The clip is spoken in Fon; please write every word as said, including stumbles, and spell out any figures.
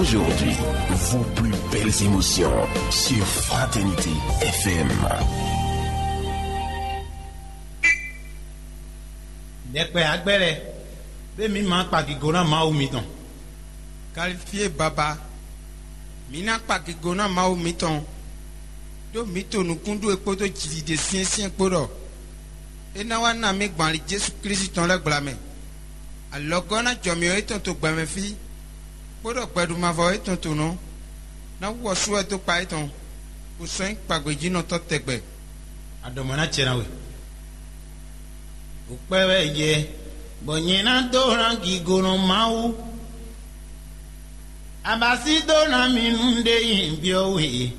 Aujourd'hui, vos plus belles émotions sur Fraternité F M. Ɖɛkpɛ agbɛ́ lɛ́ɛ, ɖé mǐ ma kpa gigo ná Mawu mitɔn. Kalifíe baba, mǐ ná kpa gigo ná Mawu mitɔn, ɖó mǐ to nukúnɖú e kpódó jiɖiɖe syɛ́nsyɛ́n kpó ɖɔ é ná wá ná mǐ gbɔn ali Jezu Klísu tɔn lɛ́ɛ gbla mɛ. Alɔgɔ́ ná jɔ mǐ ɔ́ étɔn to gbɛmɛ fí, kpódó gbɛɖumavɔ étɔn to nɔ, ná wú ɔ́ sú wɛ dó kpa étɔn, bó sɔ́ nyí kpagbějínɔtɔ́ tɛgbɛ. Aɖɔ̌mɔ ná jɛ ná we. Wǔkpɛ́ wɛ yɛ, bɔ nyɛ ná dó ná gigonɔ Mawu. Abasi dó ná mi nú ɖé nyi byɔ́ we.